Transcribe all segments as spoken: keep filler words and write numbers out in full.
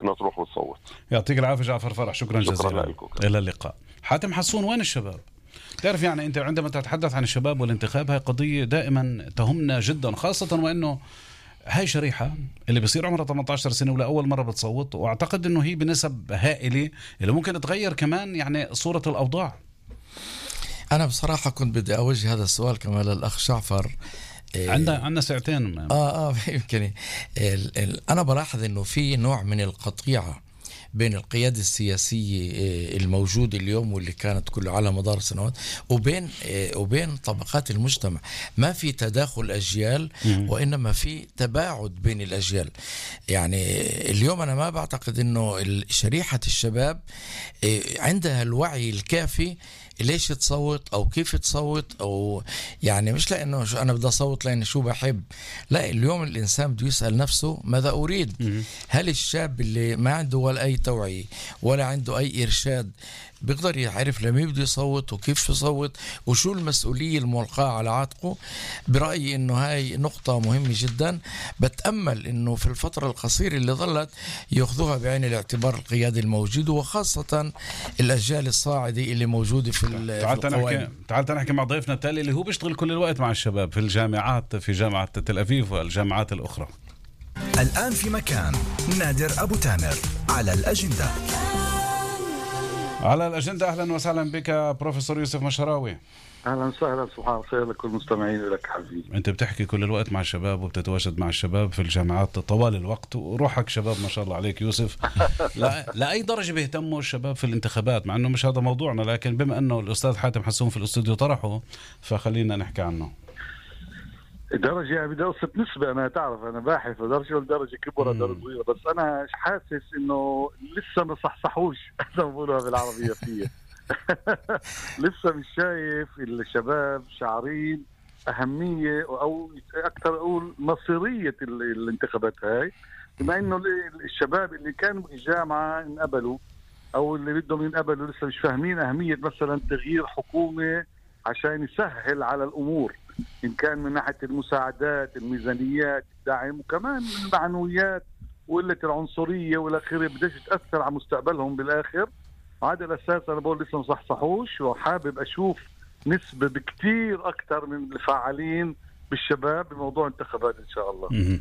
الناس تروح وتصوت. يعطيك العافية جعفر فرح، شكرا, شكرا جزيلا لكم. إلى اللقاء. حاتم حسون، وين الشباب؟ تعرف يعني أنت عندما تتحدث عن الشباب والانتخاب هاي قضية دائما تهمنا جدا، خاصة وأنه هاي شريحة اللي بصير عمرها ثمانية عشر سنة ولا أول مرة بتصوت، وأعتقد أنه هي بنسب هائلة اللي ممكن تغير كمان يعني صورة الأوضاع. أنا بصراحة كنت بدي أوجه هذا السؤال كمان للأخ جعفر. عندنا عندنا ساعتين. آه آه يمكن ال ال أنا بلاحظ إنه في نوع من القطيعة بين القيادة السياسية الموجودة اليوم واللي كانت كله على مدار سنوات وبين وبين طبقات المجتمع. ما في تداخل أجيال وإنما في تباعد بين الأجيال. يعني اليوم أنا ما بعتقد إنه شريحة الشباب عندها الوعي الكافي ليش تصوت أو كيف تصوت، أو يعني مش لأنه أنا بدي أصوت لأن شو بحب. لا، اليوم الإنسان بده يسأل نفسه ماذا أريد. هل الشاب اللي ما عنده ولا أي توعية ولا عنده أي إرشاد بيقدر يعرف لمين بده يصوت وكيف يصوت وشو المسؤولية الملقاة على عاتقه؟ برأيي إنه هاي نقطة مهمة جدا. بتأمل إنه في الفترة القصيرة اللي ظلت يأخذوها بعين الاعتبار القيادة الموجودة، وخاصة الأجيال الصاعدة اللي موجودة في تعال تنحكي تعال تنحكي مع ضيفنا التالي اللي هو بيشتغل كل الوقت مع الشباب في الجامعات، في جامعة تل أبيب والجامعات الأخرى. الآن في مكان نادر أبو تامر على الأجندة. على الأجندة أهلا وسهلا بك بروفيسور يوسف مشراوي. أهلا وسهلا، صباح الخير لكل المستمعين ولك حبيبي. أنت بتحكي كل الوقت مع الشباب وبتتواجد مع الشباب في الجامعات طوال الوقت، وروحك شباب ما شاء الله عليك يوسف. لا لأي درجة بيهتموا الشباب في الانتخابات، مع أنه مش هذا موضوعنا، لكن بما أنه الأستاذ حاتم حسون في الاستوديو طرحه فخلينا نحكي عنه. درجة يعني بدرسة نسبة، أنا تعرف أنا باحث درجة والدرجة كبرى درجة صغيرة، بس أنا حاسس إنه لسه ما صحصحوش زي ما بقولها بالعربية فيه. لسه مش شايف الشباب شعرين أهمية أو أكثر أقول مصيرية الانتخابات هاي، بما إنه الشباب اللي كانوا بالجامعة انقبلوا أو اللي بدهم ينقبلوا لسه مش فاهمين أهمية مثلا تغيير حكومة عشان يسهل على الأمور، إن كان من ناحية المساعدات، الميزانيات، الدعم، وكمان المعنويات وقلة العنصرية والآخرة بدأت تأثر على مستقبلهم بالآخر. هذا الأساس أنا بقول لسه مصحصحوش، وحابب أشوف نسبة بكتير أكتر من الفاعلين بالشباب بموضوع انتخابات إن شاء الله. م-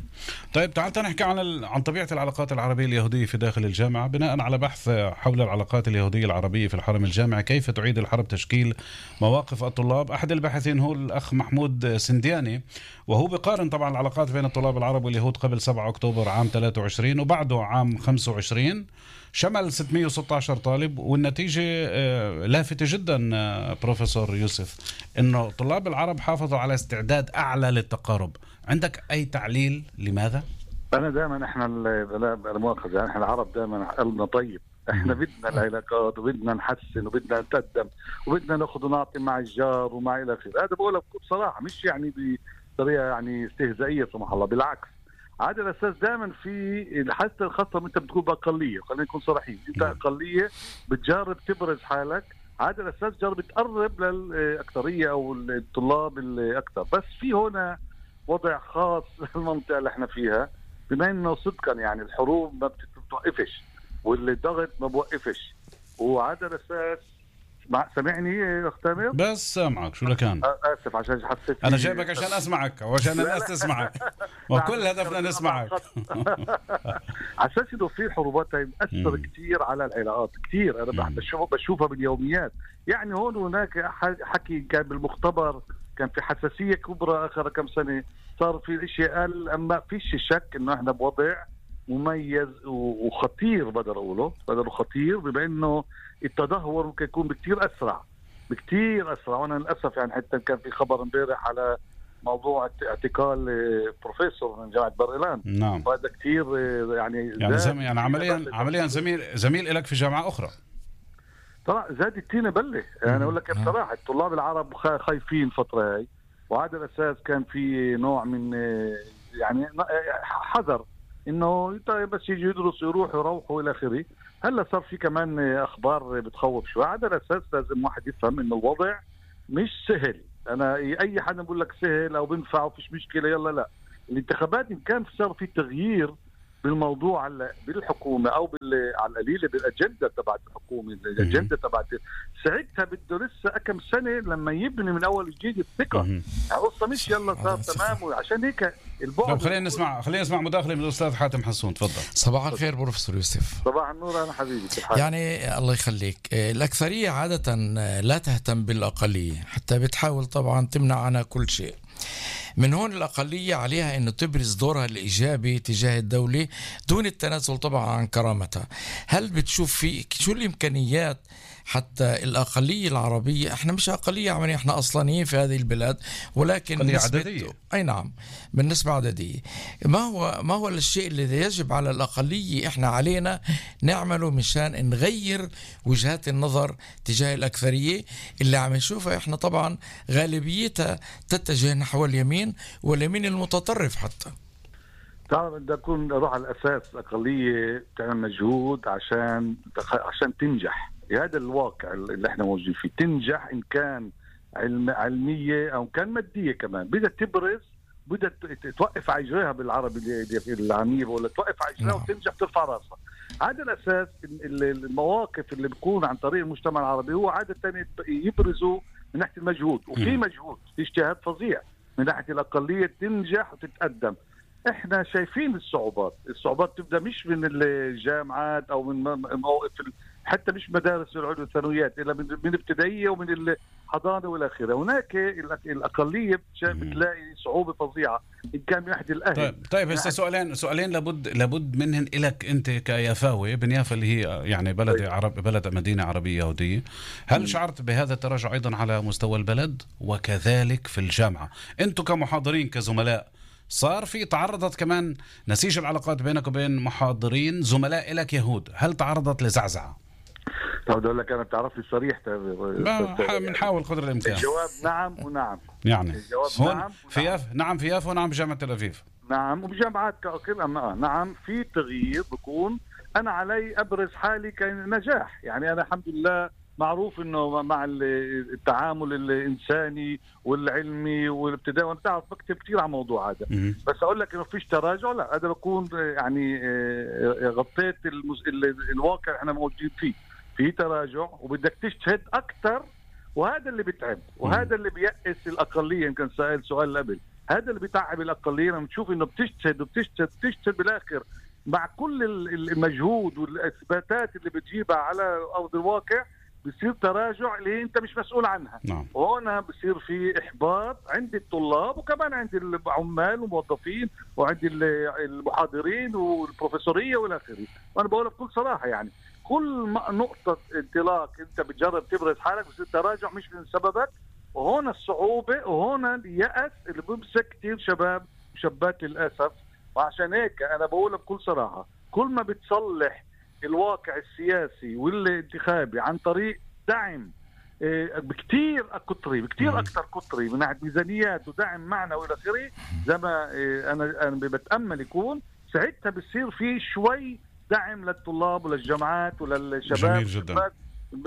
طيب تعال نحكي عن ال... عن طبيعة العلاقات العربية اليهودية في داخل الجامعة بناء على بحث حول العلاقات اليهودية العربية في الحرم الجامعي، كيف تعيد الحرب تشكيل مواقف الطلاب. أحد الباحثين هو الأخ محمود سندياني، وهو بقارن طبعا العلاقات بين الطلاب العرب واليهود قبل سبعة أكتوبر عام ثلاثة وعشرين وبعده عام خمسة وعشرين، شمل ستمئة وستة عشر طالب، والنتيجة لافتة جدا بروفيسور يوسف، إنه طلاب العرب حافظوا على استعداد أعلى للتقارب. عندك أي تعليل لماذا؟ أنا دائما إحنا المؤاخذة يعني إحنا العرب دائما قلبنا طيب، إحنا بدنا العلاقات وبدنا نحسن وبدنا نقدم وبدنا نأخذ ونعطي مع الجار ومع إلى آخره. هذا بقولها بصراحة مش يعني بطريقة يعني استهزائية سمح الله، بالعكس. على الأساس دائما في حتى الخاصة أنت بتكون بأقلية، خلينا نكون صريحين، أنت أقلية بتجرب تبرز حالك، على الأساس جرب تقرب للأكثرية أو الطلاب الأكثر. بس في هنا وضع خاص للمنطقة اللي احنا فيها، بما أنه صدقا يعني الحروب ما بتوقفش والضغط ما بوقفش، وعلى الأساس سمعني يا أخ تامر؟ بس سامعك شو لكان؟ آسف عشان حسيت أنا جايبك عشان أسمعك وعشان الناس تسمعك، وكل هدفنا نسمعك. على أساس إنه في حروبات مأثر كتير على العلاقات كتير، أنا بشوف بشوفها باليوميات. يعني هون هناك حكي كان بالمختبر كان في حساسية كبرى آخر كم سنة، صار في الاشياء قال، أما فيش شك إنه إحنا بوضع مميز وخطير، بقدر أقوله بقدر خطير، بما إنه التدهور ممكن يكون بكتير أسرع بكتير أسرع. وأنا للأسف يعني حتى كان في خبر امبارح على موضوع اعتقال بروفيسور من جامعة بر-إيلان. نعم. وهذا كتير يعني يعني, زم... يعني عمليا عمليا زميل زميل لك في جامعة أخرى. طبعا زاد التينة بله. يعني أقول لك بصراحة الطلاب العرب خايفين الفترة هاي، وهذا الأساس كان في نوع من يعني حذر إنه بس يجي يدرسوا يروحوا يروحوا إلى آخره. هلا صار في كمان أخبار بتخوف شوي. على الأساس لازم واحد يفهم إنه الوضع مش سهل. أنا أي حد بقول لك سهل أو بنفع وفيش مشكلة يلا، لا. الانتخابات إن كان صار في تغيير بالموضوع هلا بالحكومه او بال على القليله بالاجنده تبعت الحكومه، الاجنده تبعت ساعتها بده لسه كم سنه لما يبني من اول جديد الثقه. القصه مش يلا صار تمام، وعشان هيك البعد. خلينا نسمع خلينا نسمع مداخله من الاستاذ حاتم حسون، تفضل. صباح الخير بروفيسور يوسف. صباح النور. انا حبيبي يعني الله يخليك. الاكثريه عاده لا تهتم بالاقليه، حتى بتحاول طبعا تمنع عنها كل شيء. من هون الأقلية عليها أنه تبرز دورها الإيجابي تجاه الدولة دون التنازل طبعا عن كرامتها. هل بتشوف في شو الإمكانيات حتى الأقلية العربية، احنا مش أقلية عملية، احنا أصلانيين في هذه البلاد، ولكن عددية. أي نعم بالنسبة عددية. ما هو ما هو الشيء الذي يجب على الأقلية احنا علينا نعمله مشان نغير وجهات النظر تجاه الأكثرية اللي عم نشوفها احنا طبعا غالبيتها تتجه نحو اليمين واليمين المتطرف حتى. تعرف بدي أكون أروح على الأساس الأقلية تعمل مجهود عشان عشان تنجح. هذا الواقع اللي احنا موجودين فيه. تنجح إن كان علم علمية أو كان مادية كمان، بدها تبرز، بدها توقف عجرها بالعربي العامية، ولا توقف عجرها وتنجح ترفع راسها. هذا الأساس. المواقف اللي بيكون عن طريق المجتمع العربي هو عادة يبرزوا من ناحية المجهود، وفي مجهود، في اجتهاد فظيع من ناحية الأقلية تنجح وتتقدم. احنا شايفين الصعوبات. الصعوبات تبدأ مش من الجامعات أو من موقف، حتى مش مدارس العلوم والثانويات، إلا من من ابتدائية ومن الحضانة والآخرة. هناك الأقلية بتلاقي صعوبة فظيعة إن كان من ناحية الأهل. طيب طيب هسه سؤالين سؤالين لابد لابد منهن إلك أنت كيافاوي بن يافا اللي هي يعني بلد طيب. عرب بلد مدينة عربية يهودية. هل م. شعرت بهذا التراجع أيضا على مستوى البلد وكذلك في الجامعة؟ أنتم كمحاضرين كزملاء صار في تعرضت كمان نسيج العلاقات بينك وبين محاضرين زملاء لك يهود، هل تعرضت لزعزعة؟ طب أقول لك أنا بتعرف لي صريح. بنحاول قدر الإمكان. الجواب نعم ونعم. يعني الجواب نعم في ياف نعم في يافا ونعم بجامعة تل أبيب. نعم وبجامعات كلها. نعم في تغيير بكون. أنا علي أبرز حالي كنجاح. يعني أنا الحمد لله معروف انه مع التعامل الانساني والعلمي والابتدائي، وانا بتعرف بكتب كثير عن الموضوع هذا. بس اقول لك انه فيش تراجع، لا. هذا بكون يعني غطيت المز... الواقع احنا موجودين فيه. في تراجع وبدك تجتهد اكثر، وهذا اللي بتعب، وهذا اللي بيأس الاقليه. يمكن سأل سؤال قبل، هذا اللي بيتعب الاقليه لما تشوف انه بتجتهد وبتجتهد وبتجتهد بالاخر مع كل المجهود والاثباتات اللي بتجيبها على ارض الواقع بصير تراجع اللي انت مش مسؤول عنها. نعم. وهنا بصير في احباط عند الطلاب وكمان عند العمال والموظفين وعند المحاضرين والبروفيسوريه والاخره. وانا بقولها بكل صراحه، يعني كل نقطه انطلاق انت بتجرب تبرز حالك بصير تراجع مش من سببك. وهنا الصعوبه وهنا اليأس اللي بيمسك كثير شباب وشابات للاسف. وعشان هيك انا بقولها بكل صراحه، كل ما بتصلح الواقع السياسي والانتخابي عن طريق دعم بكتير قطري بكتير أكثر قطري من ناحية ميزانيات ودعم معنا وإلى آخره، زي ما أنا أنا بتأمل يكون ساعتها بصير في شوي دعم للطلاب وللجامعات وللشباب. جميل جدا.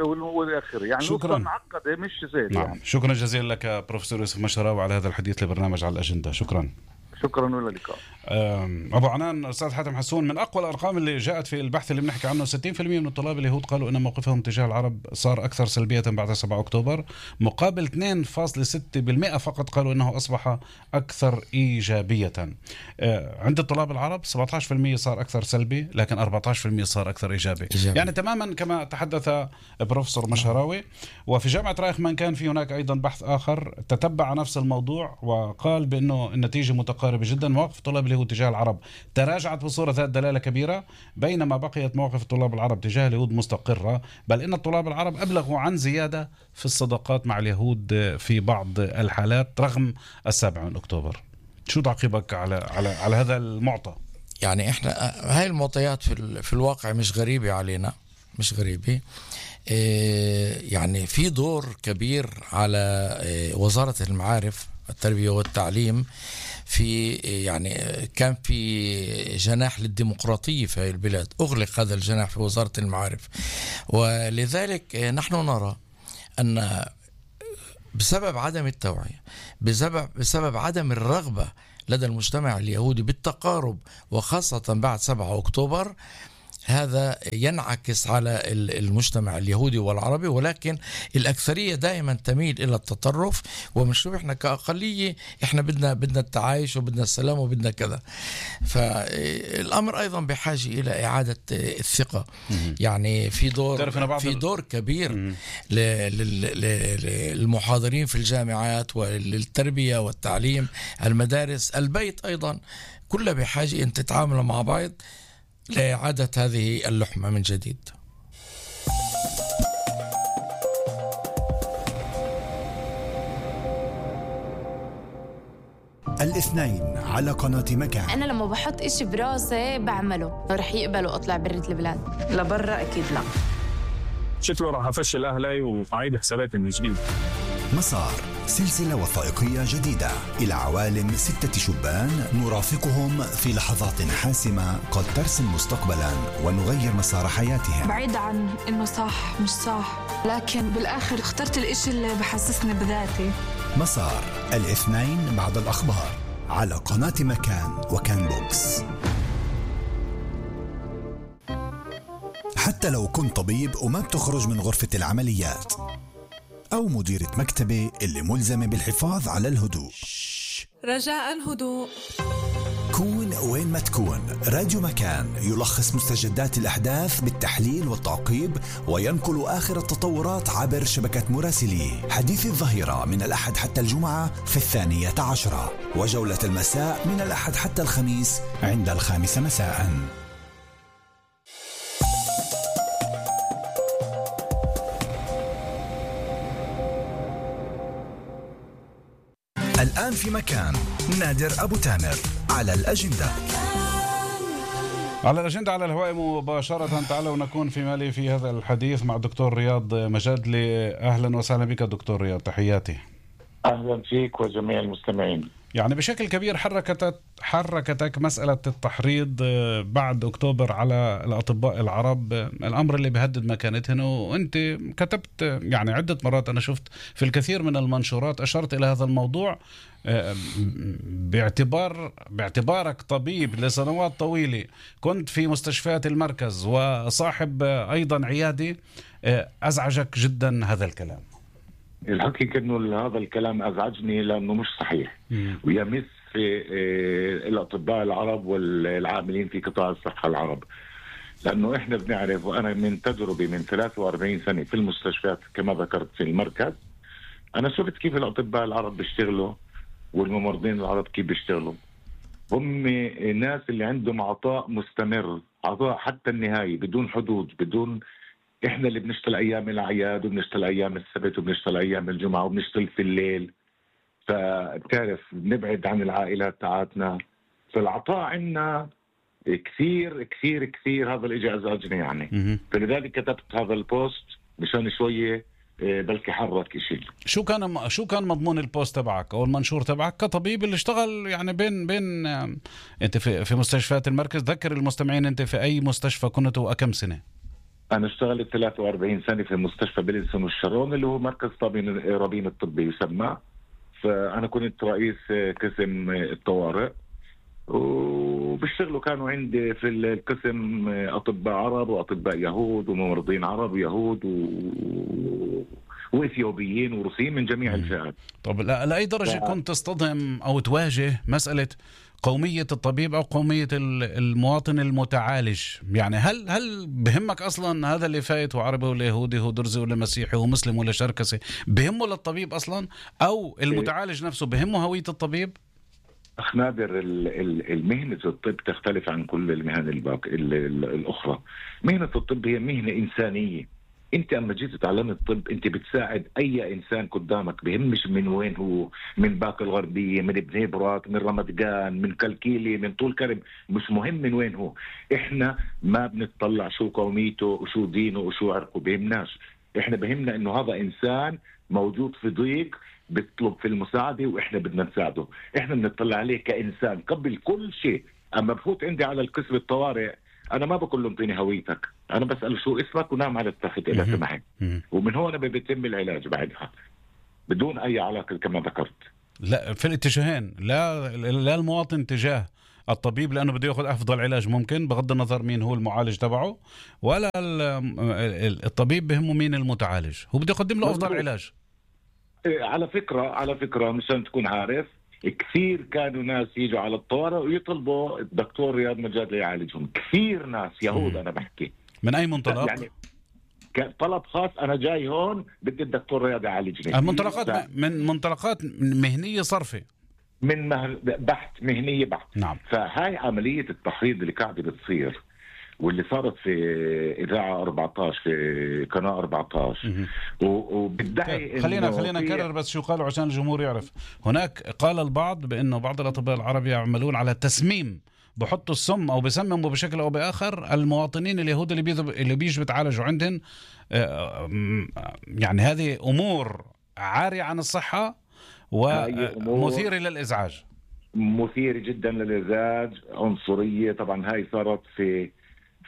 والآخر يعني شكرا. معقدة مش زي نعم. يعني. شكرا جزيلا لك بروفيسور يوسف مشراوي على هذا الحديث لبرنامج على الأجندة. شكرا. شكرا ولا اللقاء. أبو عنان أستاذ حاتم حسون، من أقوى الأرقام اللي جاءت في البحث اللي بنحكي عنه ستين بالمئة من الطلاب اليهود قالوا أن موقفهم تجاه العرب صار أكثر سلبية بعد سبعة أكتوبر، مقابل اثنين فاصلة ستة بالمئة فقط قالوا أنه أصبح أكثر إيجابية. عند الطلاب العرب سبعة عشر بالمئة صار أكثر سلبي، لكن أربعة عشر بالمئة صار أكثر إيجابي. إيجابي. يعني تماما كما تحدث بروفيسور مشراوي. وفي جامعة رايخمان كان في هناك أيضا بحث آخر تتبع نفس الموضوع وقال بأنه النتيجة متقاربة جدا. مواقف الطلاب اليهود تجاه العرب تراجعت بصورة ذات دلالة كبيرة، بينما بقيت مواقف الطلاب العرب تجاه اليهود مستقرة، بل إن الطلاب العرب أبلغوا عن زيادة في الصداقات مع اليهود في بعض الحالات رغم السابع من أكتوبر. شو تعقيبك على على على هذا المعطى؟ يعني إحنا هاي المعطيات في في الواقع مش غريبة علينا، مش غريبة. يعني في دور كبير على وزارة المعارف التربية والتعليم في، يعني كان في جناح للديمقراطية في البلاد، أغلق هذا الجناح في وزارة المعارف. ولذلك نحن نرى أن بسبب عدم التوعية، بسبب, بسبب عدم الرغبة لدى المجتمع اليهودي بالتقارب، وخاصة بعد سبعة أكتوبر، هذا ينعكس على المجتمع اليهودي والعربي، ولكن الأكثرية دائما تميل إلى التطرف، ومنشوف إحنا كأقلية إحنا بدنا بدنا التعايش وبدنا السلام وبدنا كذا. فالأمر أيضا بحاجة إلى إعادة الثقة. يعني في دور في دور كبير للمحاضرين في الجامعات وللتربية والتعليم، المدارس، البيت أيضا، كلها بحاجة أن تتعامل مع بعض لإعادة هذه اللحمة من جديد. الاثنين على قناة مكان. أنا لما بحط إشي براسي بعمله، رح يقبلوا أطلع برة البلاد لبرا؟ أكيد لا. شكله راح أفشل أهلي وأعيد حساباتي من جديد. مسار، سلسلة وثائقية جديدة إلى عوالم ستة شبان نرافقهم في لحظات حاسمة قد ترسم مستقبلا ونغير مسار حياتهم. بعيد عن إنه صح مش صح، لكن بالآخر اخترت الإشي اللي بحسسني بذاتي. مسار، الاثنين بعد الأخبار على قناة مكان وكان بوكس. حتى لو كنت طبيب وما بتخرج من غرفة العمليات، أو مديرة مكتبة اللي ملزمة بالحفاظ على الهدوء، رجاء هدوء. كون وين ما تكون، راديو مكان يلخص مستجدات الأحداث بالتحليل والتعقيب، وينقل آخر التطورات عبر شبكة مراسليه. حديث الظهيرة من الأحد حتى الجمعة في الثانية عشرة، وجولة المساء من الأحد حتى الخميس عند الخامسة مساءً. الآن في مكان، نادر أبو تامر على الأجندة. على الأجندة على الهواء مباشرة. تعالوا نكون في مالي في هذا الحديث مع الدكتور رياض مجادلي. أهلا وسهلا بك دكتور رياض، تحياتي. أهلا فيك وجميع المستمعين. يعني بشكل كبير حركتك حركتك مسألة التحريض بعد أكتوبر على الأطباء العرب، الأمر اللي بيهدد مكانتهم، وأنت كتبت يعني عدة مرات، أنا شفت في الكثير من المنشورات أشرت إلى هذا الموضوع باعتبار باعتبارك طبيب لسنوات طويلة، كنت في مستشفيات المركز وصاحب أيضا عيادة. أزعجك جدا هذا الكلام؟ الحقيقة أنه هذا الكلام أزعجني لأنه مش صحيح، ويمس في الأطباء العرب والعاملين في قطاع الصحة العرب. لأنه إحنا بنعرف، وأنا من تجربة من ثلاثة وأربعين سنة في المستشفيات كما ذكرت في المركز، أنا شفت كيف الأطباء العرب بيشتغلوا والممرضين العرب كيف بيشتغلوا. هم ناس اللي عندهم عطاء مستمر، عطاء حتى النهاية بدون حدود، بدون. احنا اللي بنشتغل ايام الاعياد وبنشتغل ايام السبت وبنشتغل ايام الجمعه وبنشتغل في الليل، فبتعرف بنبعد عن العائلات تاعتنا، فالعطاء عنا كثير كثير كثير. هذا الاشي ازعجني يعني. فلذلك كتبت هذا البوست مشان شويه بلكي حرك شيء. شو كان شو كان مضمون البوست تبعك او المنشور تبعك كطبيب اللي اشتغل يعني بين بين انت في في مستشفيات المركز؟ ذكر المستمعين انت في اي مستشفى كنت وكم سنه؟ أنا اشتغلت ثلاثة وأربعين سنة في مستشفى بلينسون والشرون اللي هو مركز رابين الطبي يسمى. فأنا كنت رئيس قسم الطوارئ، وبيشتغلوا كانوا عندي في القسم أطباء عرب وأطباء يهود وممرضين عرب ويهود و... وإثيوبيين وروسيين من جميع الفئات. طب لأي درجة ف... كنت تصطدم أو تواجه مسألة قومية الطبيب أو قومية المواطن المتعالج؟ يعني هل هل بهمك أصلا هذا اللي فايت وعربي ولا يهودي هو درزي ولا مسيحي هو مسلم ولا شركسي؟ بهمه للطبيب أصلا؟ أو المتعالج نفسه بهمه هوية الطبيب؟ أخ نادر، المهنة الطب تختلف عن كل المهن الباقي الأخرى. مهنة الطب هي مهنة إنسانية. انت اما جيت تتعلم الطب انت بتساعد اي انسان قدامك، بهمش من وين هو، من باقي الغربيه، من ابن هبرات، من رمضان، من كلكيلي، من طول كرم، مش مهم من وين هو. احنا ما بنطلع شو قوميته وشو دينه وشو عرقه، بهمناش. احنا بهمنا انه هذا انسان موجود في ضيق بيطلب في المساعده واحنا بدنا نساعده. احنا بنطلع عليه كانسان قبل كل شيء. اما بفوت عندي على القسم الطوارئ أنا ما بقول له انطيني هويتك، أنا بسأل شو اسمك ونام على التخت إذا سمحت، ومن هون بيتم العلاج بعدها بدون أي علاقة كما ذكرت. لا في الاتجاهين، لا لا المواطن تجاه الطبيب لأنه بده يأخذ أفضل علاج ممكن بغض النظر مين هو المعالج تبعه، ولا الطبيب بهمه مين المتعالج، هو بده يقدم له أفضل علاج. على فكرة على فكرة مشان تكون عارف، كثير كانوا ناس يجوا على الطوارئ ويطلبوا الدكتور رياض مجادلي يعالجهم، كثير ناس يهود. أنا بحكي من أي منطلق؟ يعني طلب خاص، أنا جاي هون بدي الدكتور رياض يعالجني. المنطلقات ف... من منطلقات مهنية صرفة، من مه... بحث مهنية بحث. نعم. فهاي عملية التحريض اللي قاعدة بتصير واللي صارت في إذاعة أربعة عشر في قناة أربعة عشر وبدعي خلينا خلينا نكرر بس شو قالوا عشان الجمهور يعرف. هناك قال البعض بأنه بعض الأطباء العرب يعملون على تسميم، بحطوا السم أو بسمموا بشكل أو بآخر المواطنين اليهود اللي بيذب اللي بيجوا بتعالجوا عندهم. يعني هذه أمور عارية عن الصحة ومثيرة للإزعاج، مثيرة جدا للإزعاج، عنصرية. طبعا هاي صارت في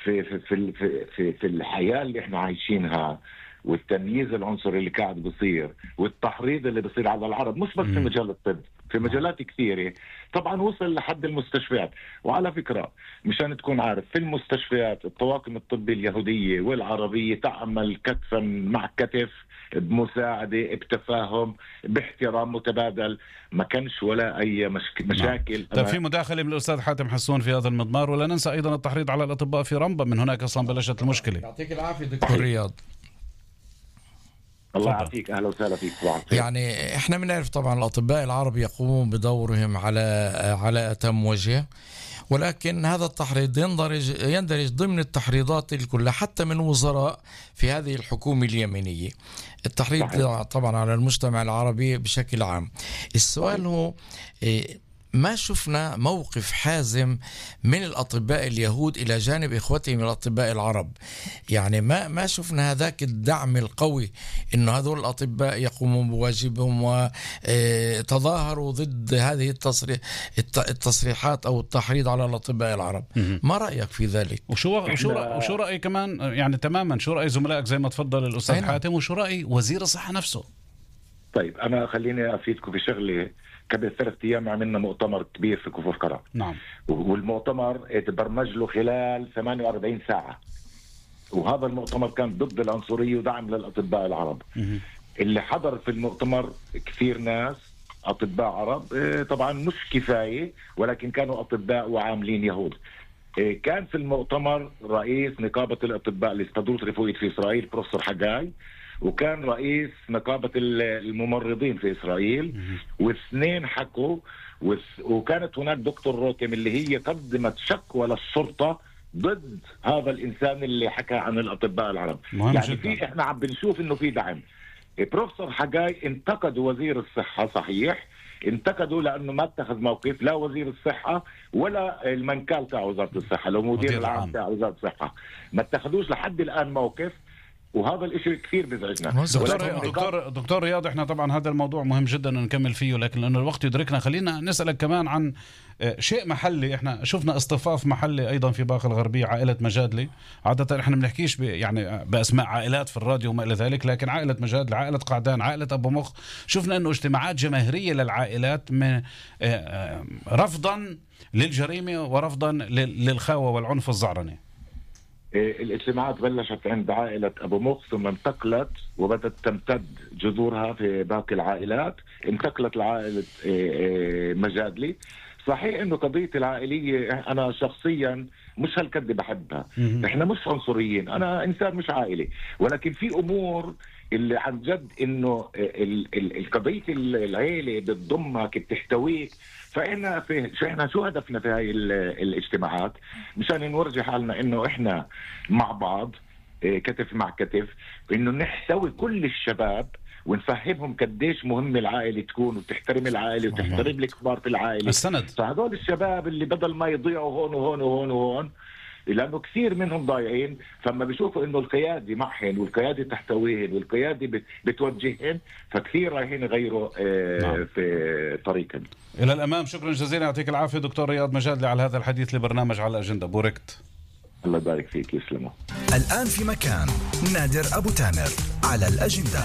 في في في في, في, في الحياة اللي احنا عايشينها، والتمييز العنصري اللي قاعد بصير والتحريض اللي بصير على العرب، مش بس في مجال الطب، في مجالات كثيرة. طبعا وصل لحد المستشفيات. وعلى فكرة مشان تكون عارف، في المستشفيات الطواقم الطبية اليهودية والعربية تعمل كتفا مع كتف، بمساعدة، بتفاهم، باحترام متبادل، ما كانش ولا أي مشك... مشاكل. طيب في مداخلة من الأستاذ حاتم حسون في هذا المضمار، ولا ننسى أيضا التحريض على الأطباء في رمبا، من هناك أصلا بلشت المشكلة. يعطيك العافية دكتور رياض. الله يعافيك، أهلا وسهلا فيك. يعني إحنا بنعرف طبعا الأطباء العرب يقومون بدورهم على على أتم وجه، ولكن هذا التحريض يندرج يندرج ضمن التحريضات الكلها حتى من وزراء في هذه الحكومة اليمينية. التحريض صحيح. طبعا على المجتمع العربي بشكل عام. السؤال صحيح. هو ما شفنا موقف حازم من الأطباء اليهود إلى جانب إخوتهم الأطباء العرب. يعني ما ما شفنا هذاك الدعم القوي إنه هذول الأطباء يقومون بواجبهم وتظاهروا ضد هذه التصريح التصريحات أو التحريض على الأطباء العرب. ما رأيك في ذلك؟ وشو وشو رأي وشو رأي كمان يعني تماما شو رأي زملائك زي ما تفضل الأستاذ أينا. حاتم، وشو رأي وزير الصحة نفسه؟ طيب أنا خليني أفيدكم في شغلة. قبل ثلاث أيام عملنا مؤتمر كبير في كفر قرع. نعم. والمؤتمر تبرمج له خلال ثمانية وأربعين ساعة، وهذا المؤتمر كان ضد العنصرية ودعم للأطباء العرب. م- اللي حضر في المؤتمر كثير ناس أطباء عرب، طبعا مش كفاية، ولكن كانوا أطباء وعاملين يهود. كان في المؤتمر رئيس نقابة الأطباء الاستدروس الرفوية في إسرائيل بروفيسور حجاي، وكان رئيس نقابة الممرضين في إسرائيل، واثنين حكوا. وكانت هناك دكتور روتم اللي هي قدمت شكوى للشرطة ضد هذا الإنسان اللي حكى عن الأطباء العرب. يعني في إحنا عم بنشوف إنه في دعم. بروفيسور حجاي انتقدوا وزير الصحة، صحيح انتقدوا لأنه ما اتخذ موقف، لا وزير الصحة ولا المنكال تاع وزارة الصحة، لو مدير العام تاع وزارة الصحة، ما اتخذوش لحد الآن موقف. وهذا الاشي كثير بيزعجنا. دكتور دكتور دكتور رياض، احنا طبعا هذا الموضوع مهم جدا نكمل فيه، لكن لانه الوقت يدركنا خلينا نسالك كمان عن شيء محلي. احنا شفنا اصطفاف محلي ايضا في باقة الغربية، عائلة مجادلي. عادة احنا بنحكيش يعني باسماء عائلات في الراديو وما الى ذلك، لكن عائلة مجادلي، عائلة قعدان، عائلة ابو مخ، شفنا انه اجتماعات جماهيرية للعائلات من رفضا للجريمة ورفضا للخاوة والعنف الزعرني. الاجتماعات بلشت عند عائلة أبو مخ، ثم انتقلت وبدأت تمتد جذورها في باقي العائلات، انتقلت لعائلة مجادلي. صحيح انه قضية العائلية انا شخصيا مش هالقد بحبها. احنا مش عنصريين، انا انسان مش عائلي، ولكن في امور اللي عن جد انه القضية العائلة بتضمك بتحتويك. فإحنا في شو إحنا شو هدفنا في هاي الاجتماعات؟ مشان نورجي حالنا إنه إحنا مع بعض كتف مع كتف، إنه نحتوي كل الشباب ونفهمهم قديش مهم العائلة تكون، وتحترم العائلة وتحترم الكبار في العائلة. السند. فهذول الشباب اللي بدل ما يضيعوا هون وهون وهون وهون، لأنه كثير منهم ضايعين، فما بيشوفوا إنه القيادة معهن والقيادة تحتويهن والقيادة بتوجههن، فكثير رايحين يغيروا آه نعم. في طريقهم إلى الأمام. شكرا جزيلا، يعطيك العافية دكتور رياض مجادلي على هذا الحديث لبرنامج على الأجندة. بوركت. الله يبارك فيك، يسلموا. الآن في مكان نادر أبو تامر على الأجندة.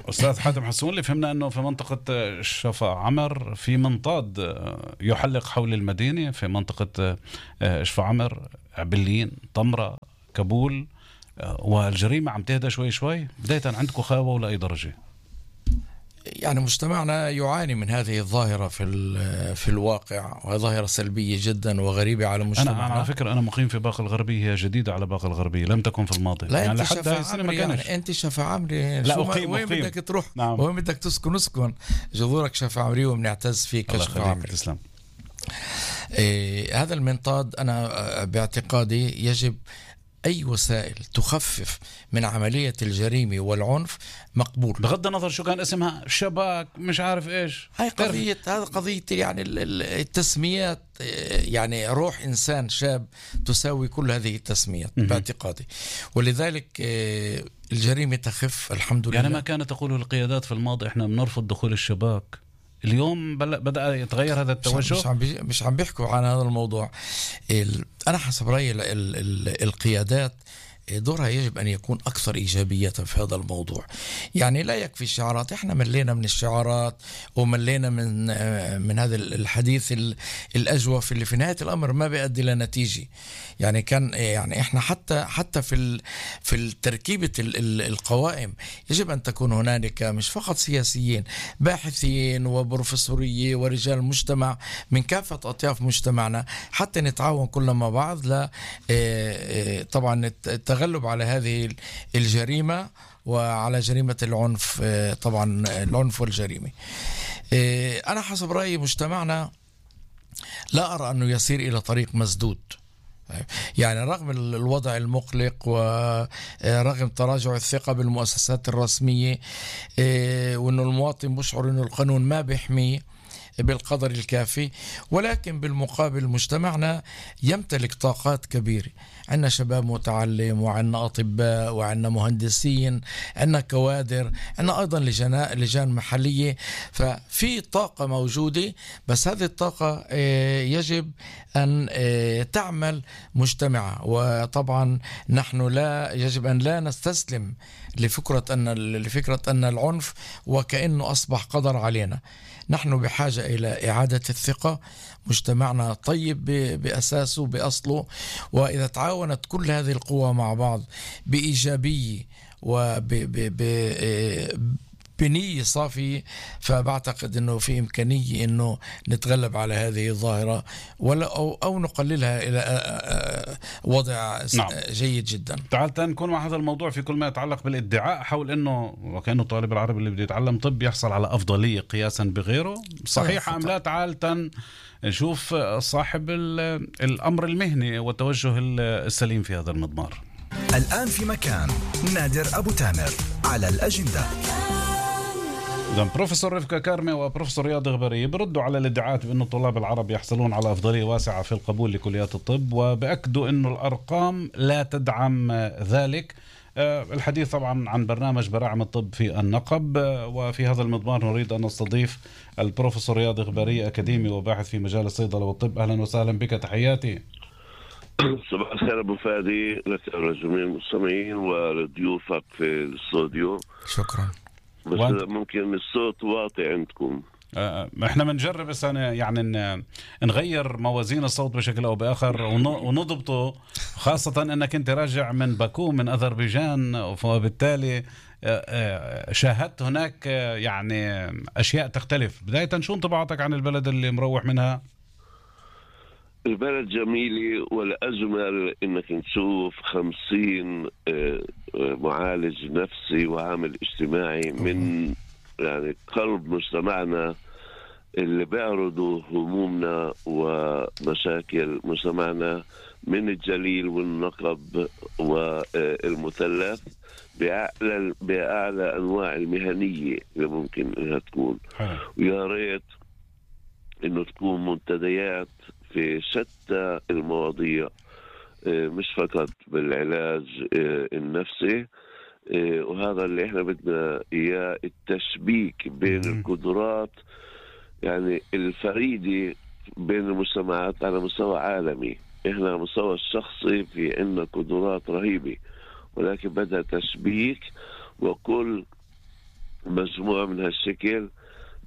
أستاذ حاتم حسون، اللي فهمنا أنه في منطقة شفا عمر في منطاد يحلق حول المدينة في منطقة شفا عمر، عبلين، طمرة، كابول، والجريمة عم تهدى شوي شوي. بداية عندكم خاوة ولا أي درجة؟ يعني مجتمعنا يعاني من هذه الظاهرة في في الواقع، وهي ظاهرة سلبية جدا وغريبة على مجتمعنا. أنا على فكرة أنا مقيم في باقة الغربية، هي جديدة على باقة الغربية، لم تكن في الماضي. لا يعني أنت لحد هاي السنة ما كانش. يعني أنت شفا عمري، لا شو أقيم وين أقيم. بدك تروح؟ نعم. وين بدك تسكن اسكن، جذورك شفا عمري وبنعتز فيك شفا عمري. تسلم. إيه هذا المنطاد أنا باعتقادي يجب أي وسائل تخفف من عملية الجريمة والعنف مقبول، بغض النظر شو كان اسمها، شباك مش عارف إيش. هاي قضية، هذا قضية يعني التسميات، يعني روح إنسان شاب تساوي كل هذه التسميات باعتقادي، ولذلك الجريمة تخف الحمد لله. يعني ما كانت تقوله القيادات في الماضي إحنا بنرفض دخول الشباك، اليوم بدأ يتغير هذا التوجه. مش عم مش عم بيحكوا عن هذا الموضوع. أنا حسب رأيي ال ال القيادات دورها يجب أن يكون أكثر إيجابية في هذا الموضوع. يعني لا يكفي الشعارات، إحنا ملينا من الشعارات وملينا من من هذا الحديث الأجوف اللي في نهاية الأمر ما بيؤدي لنتيجة. يعني كان يعني إحنا حتى حتى في في التركيبة القوائم يجب أن تكون هنالك مش فقط سياسيين، باحثين وبروفيسورية ورجال مجتمع من كافة أطياف مجتمعنا، حتى نتعاون كلنا مع بعض ل طبعا التغلب على هذه الجريمة وعلى جريمة العنف، طبعا العنف والجريمة. أنا حسب رأيي مجتمعنا لا أرى أنه يسير إلى طريق مسدود، يعني رغم الوضع المقلق ورغم تراجع الثقة بالمؤسسات الرسمية، وأنه المواطن بيشعر أنه القانون ما بيحميه بالقدر الكافي، ولكن بالمقابل مجتمعنا يمتلك طاقات كبيرة. عندنا شباب متعلم، وعندنا أطباء، وعندنا مهندسين، عندنا كوادر، عندنا أيضا لجان محلية، ففي طاقة موجودة، بس هذه الطاقة يجب أن تعمل مجتمعة. وطبعا نحن لا يجب أن لا نستسلم لفكرة أن لفكرة أن العنف وكأنه أصبح قدر علينا. نحن بحاجة إلى إعادة الثقة، مجتمعنا طيب بأساسه بأصله، وإذا تعاونت كل هذه القوى مع بعض بإيجابية وبنية صافية، فبعتقد أنه في إمكانية أنه نتغلب على هذه الظاهرة ولا أو, أو نقللها إلى وضع نعم. جيد جدا. تعال نكون مع هذا الموضوع في كل ما يتعلق بالادعاء حول أنه وكأنه الطالب العربي اللي بده يتعلم طب يحصل على أفضلية قياسا بغيره، صحيح أم لا؟ تعال نشوف صاحب الأمر المهني والتوجه السليم في هذا المضمار. الآن في مكان نادر أبو تامر على الأجندة. إذن بروفيسور رفكة كارمة وبروفيسور رياض غبري بردوا على الادعاءات بأن الطلاب العرب يحصلون على أفضلية واسعة في القبول لكليات الطب، وبأكدوا أن الأرقام لا تدعم ذلك. الحديث طبعا عن برنامج براعم الطب في النقب، وفي هذا المضمار نريد أن نستضيف البروفيسور رياض غبري، أكاديمي وباحث في مجال الصيدلة والطب. أهلا وسهلا بك، تحياتي. صباح الخير أبو فادي، لك ولجميع المستمعين ولضيوفك في الاستوديو. شكرا. بس وانت... ممكن الصوت واطي عندكم. آه احنا بنجرب بس يعني نغير موازين الصوت بشكل او باخر ونضبطه، خاصة انك انت راجع من باكو من اذربيجان، وبالتالي شاهدت هناك يعني اشياء تختلف. بداية شو انطباعاتك عن البلد اللي مروح منها؟ البلد جميلة، والأجمل إنك تشوف خمسين معالج نفسي وعامل اجتماعي من يعني قلب مجتمعنا اللي بيعرضوا همومنا ومشاكل مجتمعنا من الجليل والنقب والمثلث بأعلى, بأعلى أنواع المهنية اللي ممكن إنها تكون. ويا ريت إنه تكون منتديات في شتى المواضيع، مش فقط بالعلاج النفسي، وهذا اللي احنا بدنا اياه، التشبيك بين القدرات يعني الفريدة بين المجتمعات على مستوى عالمي. احنا على مستوى الشخصي في عنا قدرات رهيبة، ولكن بدها تشبيك، وكل مجموعة من هالشكل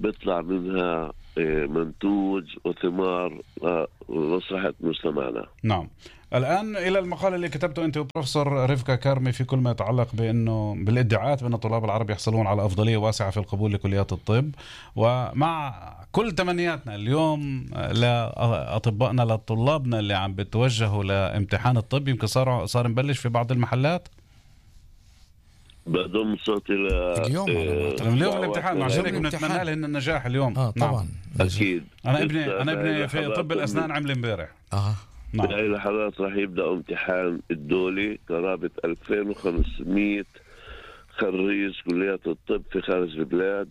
بيطلع منها منتوج وثمار لمصلحة مجتمعنا. نعم. الآن إلى المقال اللي كتبته أنت وبروفيسور رفقة كارمي في كل ما يتعلق بأنه بالادعاءات بأن الطلاب العرب يحصلون على أفضلية واسعة في القبول لكليات الطب، ومع كل تمنياتنا اليوم لأطبائنا لطلابنا اللي عم بتوجهوا لامتحان الطب، يمكن صار صار نبلش في بعض المحلات بضم صوتي ل اليوم آه اليوم الامتحان، عشان هيك بنتمنى لهم النجاح اليوم. اه طبعا. نعم. اكيد. انا ابني انا ابني في طب الاسنان عمل امبارح. اه نعم. بهاي اللحظات راح يبدا امتحان الدولي قرابه ألفين وخمسمية خريج كليات الطب في خارج البلاد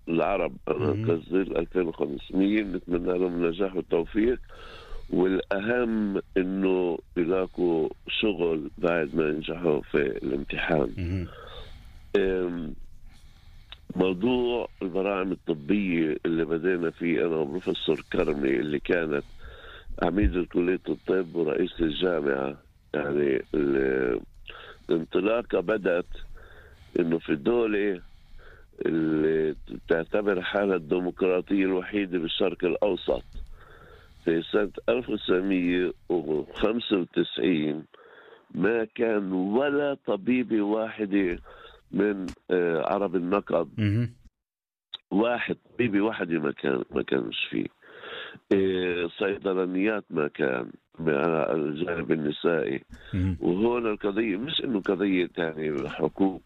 العرب. انا قصدي ألفين وخمسمية، نتمنى لهم النجاح والتوفيق، والاهم انه يلاقوا شغل بعد ما ينجحوا في الامتحان. موضوع البراعم الطبية اللي بدينا فيه أنا وبروفيسور كرمي اللي كانت عميد كلية الطب ورئيس الجامعة، يعني الانطلاقة بدأت إنه في الدولة اللي تعتبر حالها الديمقراطية الوحيدة بالشرق الأوسط في سنة ألف وتسعمية وخمسة وتسعين ما كان ولا طبيبة واحدة من عرب النقب، واحد طبيبي واحدة ما كان ما كانش فيه. صيدلانيات ما كان على الجانب النسائي. وهون القضية مش إنه قضية يعني حقوق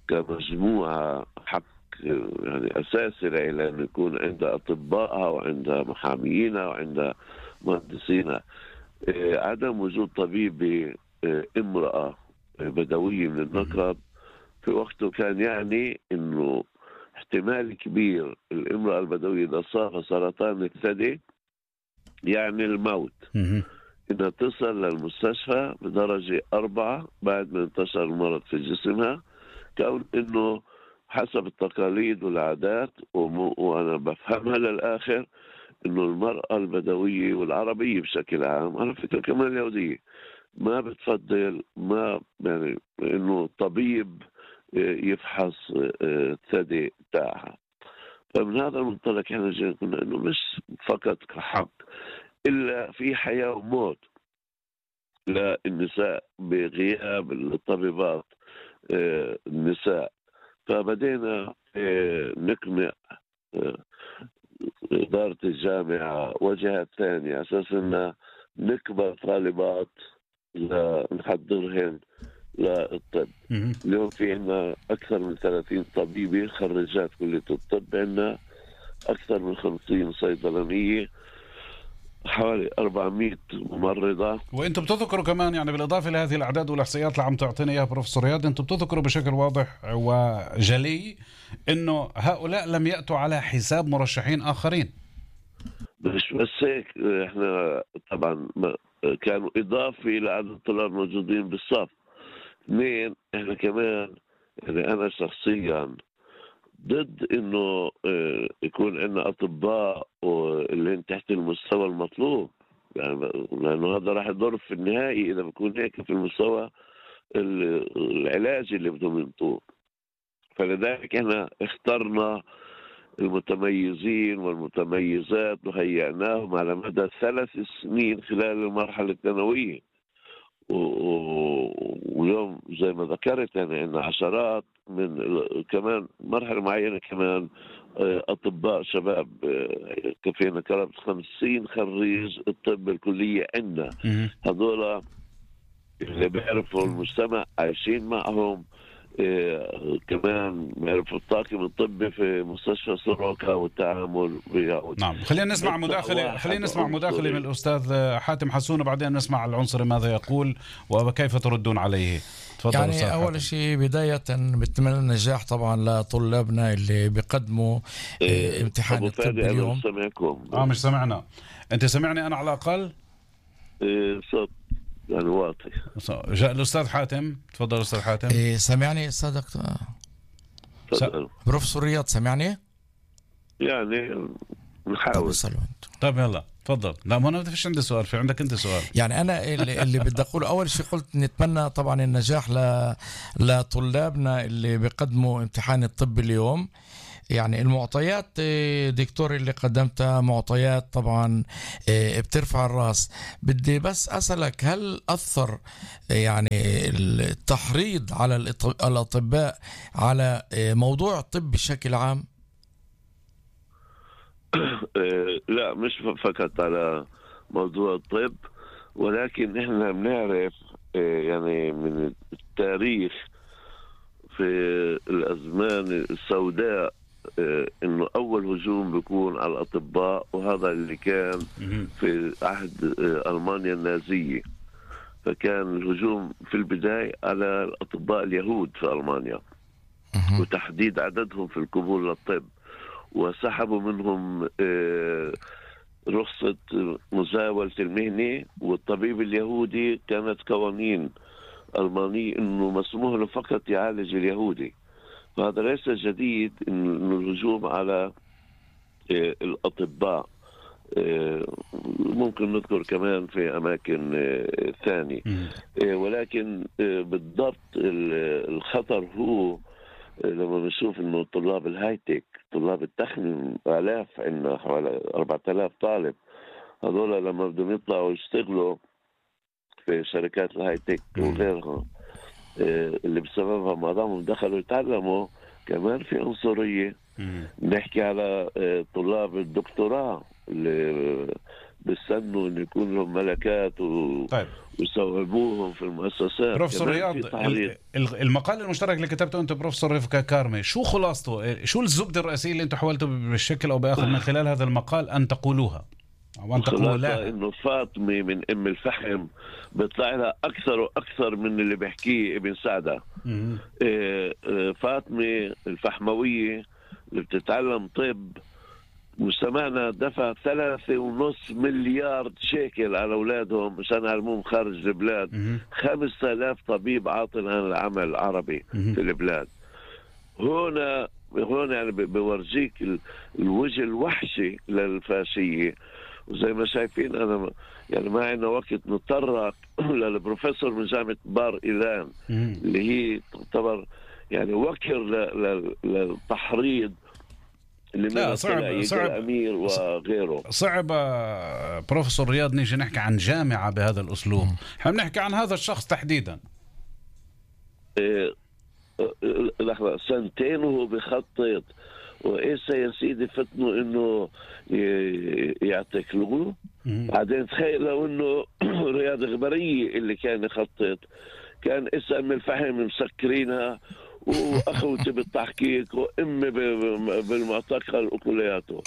كمجموعة، حق يعني أساسي لها أن يكون عندها أطباءها وعندها محاميينها وعندها مهندسينها. عدم وجود طبيبة امرأة بدوية من النقب في وقته كان يعني إنه احتمال كبير الامرأة البدوية إذا صاب سرطان الثدي يعني الموت، إنها تصل للمستشفى بدرجة أربعة بعد ما انتشر المرض في جسمها، كون إنه حسب التقاليد والعادات وأنا بفهمها للآخر إنه المرأة البدوية والعربية بشكل عام، على فكرة كمان اليهودية، ما بتفضل ما يعني إنه طبيب يفحص الثدي تاعها. فمن هذا المنطلق احنا جينا قلنا انه مش فقط كحق، الا في حياة وموت للنساء بغياب الطبيبات النساء. فبدينا نقنع إدارة الجامعة وجهات ثانية أساس أن نكبر طالبات لنحضرهن للطب. اليوم في عنا أكثر من ثلاثين طبيبة خريجات كلية الطب، عنا أكثر من خمسين صيدلانية، حوالي أربعمية ممرضة. وانتم بتذكروا كمان يعني بالإضافة لهذه الأعداد والإحصائيات اللي عم تعطينا إياها بروفيسور رياض، انتم بتذكروا بشكل واضح وجلي إنه هؤلاء لم يأتوا على حساب مرشحين آخرين. مش بس هيك، احنا طبعا كانوا إضافة لعدد الطلاب الموجودين بالصف. اثنين، احنا كمان يعني أنا شخصيا ضد انه يكون عندنا اطباء اللي تحت المستوى المطلوب، يعني لانه هذا راح يضر في النهائي اذا بكون هيك في المستوى العلاجي اللي بدهم ينطوه. فلذلك احنا اخترنا المتميزين والمتميزات وهيئناهم على مدى ثلاث سنين خلال المرحله الثانويه. واليوم زي ما ذكرت يعني عندنا عشرات من كمان مرحلة معينة كمان أطباء شباب، كفينا قرابة خمسين خريج الطب الكلية عندنا. هذولا اللي بيعرفوا المجتمع عايشين معهم، كمان بيعرفوا الطاقم الطبي في مستشفى سروكا والتعامل وياه. نعم، خلينا نسمع مداخلة خلينا نسمع مداخلة من الأستاذ حاتم حسون، وبعدين نسمع العنصري ماذا يقول وكيف تردون عليه. تفضل يعني أستاذ أول حاتم. شيء بداية بتمنى النجاح طبعا لطلابنا اللي بيقدموا إيه امتحان الطب اليوم. اه مش سمعنا، أنت سمعني أنا على الأقل؟ إيه صوت يعني واطي. جاء الأستاذ حاتم، تفضل أستاذ حاتم. إيه سمعني أستاذ دكتور س... بروفيسور رياض سمعني؟ يعني نحاول. طيب يلا تفضل. لا ما انا ما فيش عندي سؤال، في عندك انت سؤال. يعني انا اللي, اللي بدي اقوله اول شيء قلت نتمنى طبعا النجاح ل... لطلابنا اللي بيقدموا امتحان الطب اليوم. يعني المعطيات دكتور اللي قدمتها معطيات طبعا بترفع الراس. بدي بس أسألك هل أثر يعني التحريض على الأطباء على موضوع الطب بشكل عام؟ لا مش فقط على موضوع الطب، ولكن احنا بنعرف يعني من التاريخ في الأزمان السوداء انه اول هجوم بيكون على الاطباء، وهذا اللي كان في عهد المانيا النازيه. فكان الهجوم في البدايه على الاطباء اليهود في المانيا وتحديد عددهم في القبول للطب، وسحبوا منهم رخصه مزاوله المهنه. والطبيب اليهودي كانت قوانين المانيه انه مسموح له فقط يعالج اليهودي. فهذا ليس جديد إنه الهجوم على الأطباء ممكن نذكر كمان في أماكن ثانية، ولكن بالضبط الخطر هو لما نشوف إنه طلاب الهايتك، طلاب التقنية آلاف، عندنا حوالي أربعة آلاف طالب، هذول لما بدهم يطلعوا يشتغلوا في شركات الهايتك وغيرها اللي بسببها ما دامهم دخلوا يتعلموا كمان في عنصرية. نحكي على طلاب الدكتوراه اللي بيستنوا ان يكون لهم ملكات و... طيب. ويصوبوهم في المؤسسات. بروفيسور رياض، المقال المشترك اللي كتبته انت بروفيسور رفقة كارمي، شو خلاصته؟ شو الزبدة الرئيسية اللي انتم حاولتوا بالشكل او باخر من خلال هذا المقال ان تقولوها؟ خلاصة انه فاطمة من ام الفحم بيطلع لها اكثر واكثر من اللي بيحكيه ابن سعدة. إيه فاطمة الفحموية اللي بتتعلم طب، مجتمعنا دفع ثلاثة ونص مليار شيكل على اولادهم مشان يعلموهم خارج البلاد. خمسة آلاف طبيب عاطل عن العمل العربي في البلاد. هنا هون يعني بورجيك الوجه الوحشي للفاشية. وزي ما شايفين أنا يعني ما عندنا وقت نتطرق للبروفيسور من جامعة بار إيلان اللي هي تعتبر يعني وكر للتحريض اللي لا صعب صعب الأمير وغيره. صعب بروفيسور رياض نيجي نحكي عن جامعة بهذا الأسلوب. احنا بنحكي عن هذا الشخص تحديدا. إيه لحظة سنتين وهو بخطط، وإيسا يا سيدي فتنوا إنه يعتقلوه. بعدين تخيل لو إنه رياض غبرية اللي كان يخطط، كان إسا أم الفحم مسكرينها وأخوتي بالتحقيق وأمي بالمعتقل وكلياته.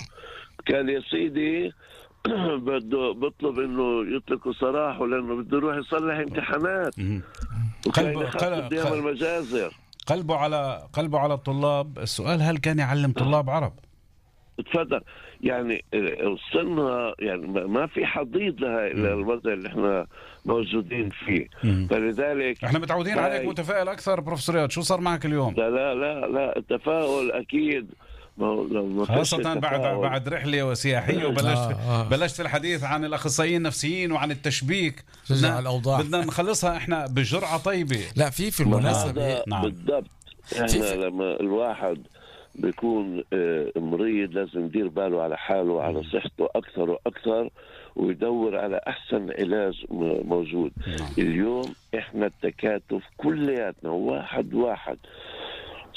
كان يا سيدي بده بطلب إنه يطلقوا سراحه لأنه بده يروح يصلح امتحانات. وكان يخطط ديما المجازر. قلبه على قلبه على الطلاب. السؤال هل كان يعلم طلاب عرب؟ تفضل. يعني وصلنا يعني ما في حضيض لها الا الوضع اللي احنا موجودين فيه. مم. فلذلك احنا متعودين عليك متفائل اكثر بروفيسور رياض. شو صار معك اليوم؟ لا لا لا لا التفاؤل اكيد خاصة بعد بعد رحلة سياحية وبلشت آه آه. بلشت الحديث عن الأخصائيين النفسيين وعن التشبيك. بدنا الأوضاع بدنا نخلصها احنا بجرعة طيبة. لا في في المناسبة نعم. بالضبط. احنا لما الواحد بيكون مريض لازم يدير باله على حاله وعلى صحته أكثر وأكثر، ويدور على أحسن علاج موجود. نعم. اليوم إحنا التكاتف كلياتنا واحد واحد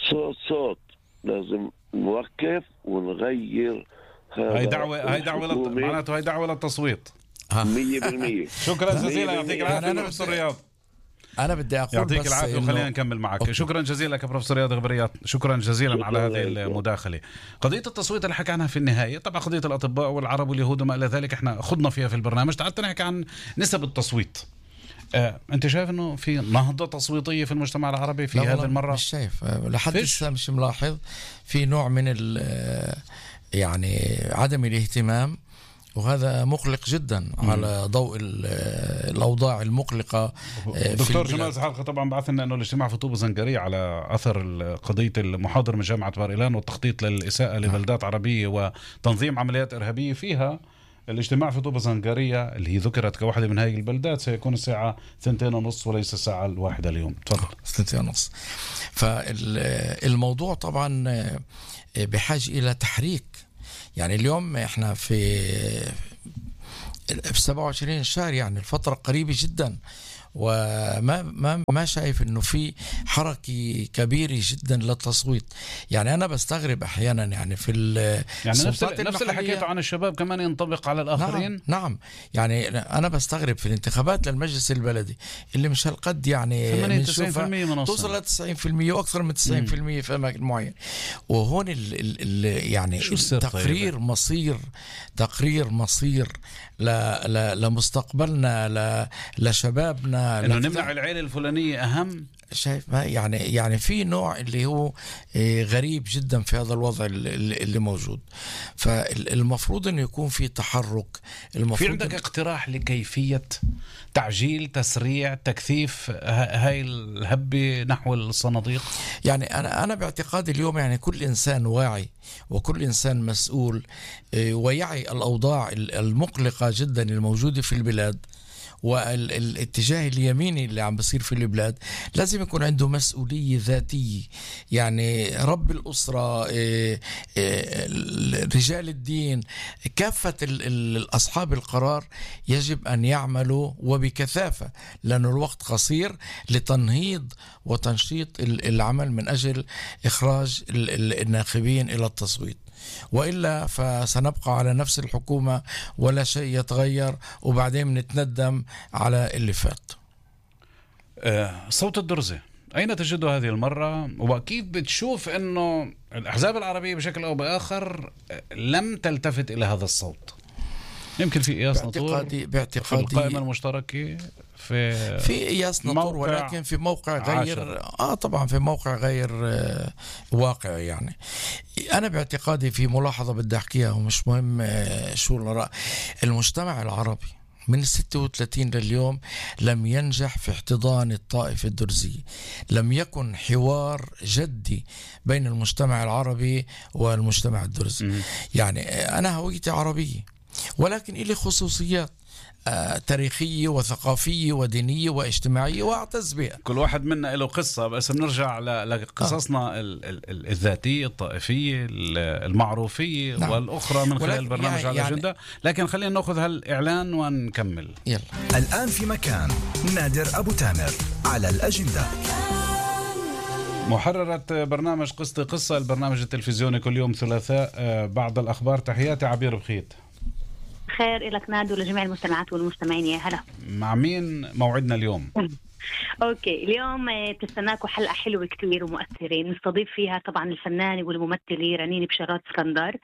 صوت صوت لازم نوقف ونغير. هاي دعوة هاي دعوة معناته هاي دعوة للتصويت مية بالمية. شكرا جزيلا، يعطيك العافية بروفيسور رياض. أنا بدي أقول يعطيك العافية وخلينا نكمل معك. أوكي. شكرا جزيلا بروفيسور رياض غبريات، شكرا جزيلا شكرا على هذه المداخلة. قضية التصويت اللي حكى عنها في النهاية، طبعا قضية الأطباء والعرب واليهود وما إلى ذلك احنا خضنا فيها في البرنامج. تعالت نحكي عن نسب التصويت. آه، أنت شايف إنه في نهضة تصويتية في المجتمع العربي في هذه المرة؟ مش شايف لحد هسه مش ملاحظ في نوع من يعني عدم الاهتمام، وهذا مقلق جدا م. على ضوء الأوضاع المقلقة. دكتور جمال زحلقة طبعا بعث لنا أنه الاجتماع في طوبة زنجرية على أثر قضية المحاضر من جامعة بار إيلان والتخطيط للإساءة لبلدات عربية وتنظيم عمليات إرهابية فيها الاجتماع في طوبة زنقارية اللي هي ذكرت كواحدة من هذه البلدات سيكون الساعة ثنتين ونص وليس الساعة الواحدة اليوم. تفضل. ثنتين ونص. فالموضوع طبعا بحاجة إلى تحريك. يعني اليوم احنا في في سبعة وعشرين شهر، يعني الفترة قريبة جدا، وما ما ما شايف انه في حركه كبيره جدا للتصويت. يعني انا بستغرب احيانا يعني في يعني نفس نفس اللي حكيته عن الشباب كمان ينطبق على الاخرين. نعم, نعم يعني انا بستغرب في الانتخابات للمجلس البلدي اللي مش هالقد يعني ثمانية وتسعين بالمئة منصة توصل ل تسعين بالمئة واكثر من تسعين بالمئة في اماكن معينه. وهون ال ال ال يعني تقرير طيب. مصير تقرير مصير ل ل لمستقبلنا ل لشبابنا، انه نمنع العيله الفلانيه اهم. شايف ما يعني يعني في نوع اللي هو غريب جدا في هذا الوضع اللي موجود. فالمفروض انه يكون في تحرك. المفروض في عندك اقتراح لكيفيه تعجيل تسريع تكثيف هاي الهبه نحو الصناديق؟ يعني انا انا باعتقادي اليوم يعني كل انسان واعي وكل انسان مسؤول ويعي الاوضاع المقلقه جدا الموجوده في البلاد والاتجاه اليميني اللي عم بصير في البلاد، لازم يكون عنده مسؤولية ذاتية. يعني رب الأسرة، رجال الدين، كافة أصحاب القرار يجب أن يعملوا وبكثافة، لأن الوقت قصير لتنهيض وتنشيط العمل من أجل إخراج الناخبين إلى التصويت. وإلا فسنبقى على نفس الحكومة ولا شيء يتغير، وبعدين نتندم على اللي فات. صوت الدرزة أين تجده هذه المرة؟ وأكيد بتشوف أنه الأحزاب العربية بشكل أو بآخر لم تلتفت إلى هذا الصوت. يمكن في إياس نطور باعتقادي في القائمة المشتركة في في إياس نطور، ولكن في موقع غير عشر. آه طبعا في موقع غير آه واقع. يعني أنا باعتقادي في ملاحظة بدي أحكيها ومش مهم آه شو الرأي. المجتمع العربي من الستة وثلاثين لليوم لم ينجح في احتضان الطائفة الدرزية. لم يكن حوار جدي بين المجتمع العربي والمجتمع الدرزي. م- يعني أنا هويتي عربية، ولكن إلي خصوصيات آه تاريخية وثقافية ودينية واجتماعية وأعتز بها. كل واحد منا له قصة، بس بنرجع لقصصنا آه. الذاتية الطائفية المعروفية. نعم. والأخرى من خلال البرنامج يعني على الأجندة. يعني لكن خلينا نأخذ هالإعلان ونكمل. يلا. الآن في مكان نادر أبو تامر على الأجندة. محررة برنامج قصة قصة، البرنامج التلفزيوني كل يوم ثلاثاء بعد الأخبار. تحياتي عبير بخيت. خير إلك نادو ولجميع المستمعات والمستمعين. يا هلا. مع مين موعدنا اليوم؟ اوكي، اليوم بتستناكم حلقه حلوه كتير ومؤثره، نستضيف فيها طبعا الفنانه والممثله رنين بشارات اسكندر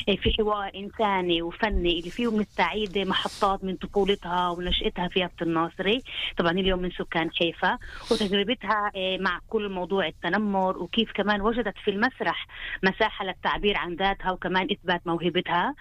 في حوار انساني وفني اللي فيه بنستعيد محطات من طفولتها ونشأتها في يافت الناصري، طبعا اليوم من سكان حيفا، وتجربتها مع كل موضوع التنمر، وكيف كمان وجدت في المسرح مساحه للتعبير عن ذاتها وكمان اثبات موهبتها.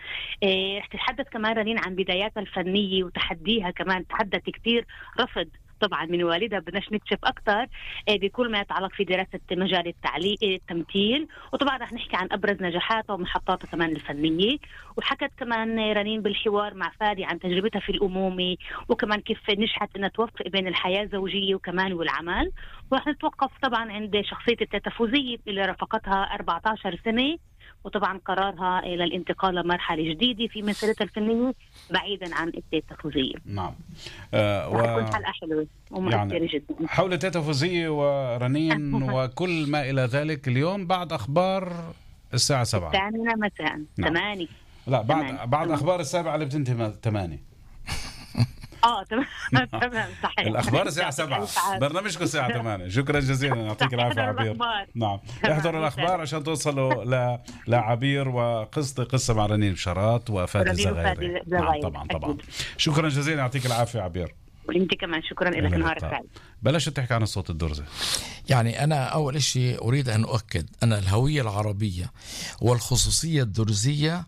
رح تتحدث كمان رنين عن بداياتها الفنيه وتحديها، كمان تحدت كتير رفض طبعا من والدها، بدناش نكشف أكتر بكل ما يتعلق في دراسة مجال التعليق التمثيل، وطبعا رح نحكي عن أبرز نجاحاتها ومحطاتها كمان الفنية. وحكت كمان رنين بالحوار مع فادي عن تجربتها في الأمومة، وكمان كيف نجحت أنها توفق بين الحياة الزوجية وكمان والعمل. ورح نتوقف طبعا عند شخصية التيتا فوزية اللي رافقتها أربعة عشر سنة، وطبعا قرارها للانتقال لمرحلة جديدة في مسيرتها الفنية بعيدا عن التيتا فوزية. نعم. آه و... حلقة حلوة ومؤثرة يعني جدا حول التيتا فوزية ورنين وكل ما إلى ذلك اليوم بعد أخبار الساعة سبعة الثامنة مساء. نعم. ثمانية لا بعد تماني. بعد تماني. أخبار السابعة اللي بتنتهي ثمانية. اه تمام تمام صحيح. الأخبار الساعة سبعة، برنامجكم الساعة ثمانية. شكرا جزيلا، يعطيك العافية عبير. نعم، احضروا الأخبار عشان توصلوا ل لعبير وقصة قصة مع رنين بشارات وفادي الزغيري. نعم طبعا طبعا. شكرا جزيلا، يعطيك العافية عبير. وانت كمان شكرا لك، نهارك سعيد. بلاش تحكي عن الصوت الدرزي. يعني أنا أول شيء أريد أن أؤكد أن الهوية العربية والخصوصية الدرزية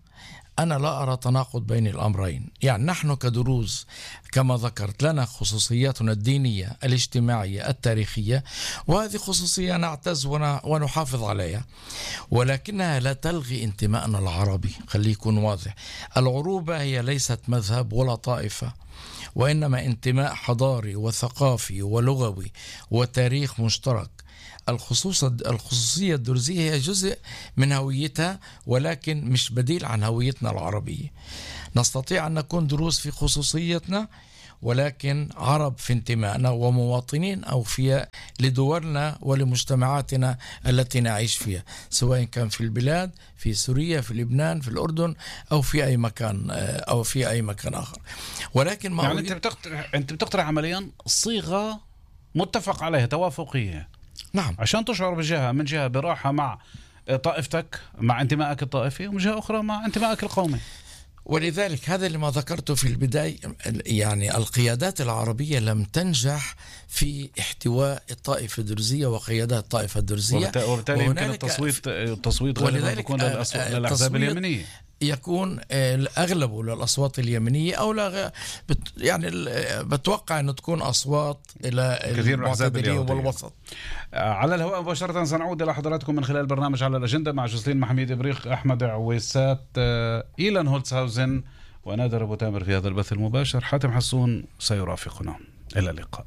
أنا لا أرى تناقض بين الأمرين. يعني نحن كدروز كما ذكرت لنا خصوصياتنا الدينية الاجتماعية التاريخية، وهذه خصوصية نعتز ونحافظ عليها، ولكنها لا تلغي انتمائنا العربي. خليه يكون واضح، العروبة هي ليست مذهب ولا طائفة، وإنما انتماء حضاري وثقافي ولغوي وتاريخ مشترك. الخصوص الخصوصية الدرزية هي جزء من هويتها، ولكن مش بديل عن هويتنا العربية. نستطيع أن نكون دروز في خصوصيتنا، ولكن عرب في انتمائنا ومواطنين أوفياء لدولنا ولمجتمعاتنا التي نعيش فيها، سواء كان في البلاد، في سوريا، في لبنان، في الأردن، أو في أي مكان أو في أي مكان آخر. ولكن ما يعني أنت بتقترح أنت بتقترح عمليا صيغة متفق عليها توافقية، نعم، عشان تشعر بجهة من جهة براحة مع طائفتك، مع انتمائك الطائفي، ومن جهة أخرى مع انتمائك القومي. ولذلك هذا اللي ما ذكرته في البداية، يعني القيادات العربية لم تنجح في احتواء الطائفة الدرزية وقيادات الطائفة الدرزية، وبالتالي يمكن التصويت التصويت غالبا يكون للأحزاب اليمنية، يكون أغلبه للأصوات اليمنية، أو لا بت يعني بتوقع أنه تكون أصوات إلى المعتدلين والوسط. على الهواء مباشرة سنعود إلى حضراتكم من خلال برنامج على الأجندة مع جوزلين محميد إبريق، أحمد عويسات، إيلان هولتسهاوزن ونادر أبو تامر في هذا البث المباشر. حاتم حسون سيرافقنا. إلى اللقاء.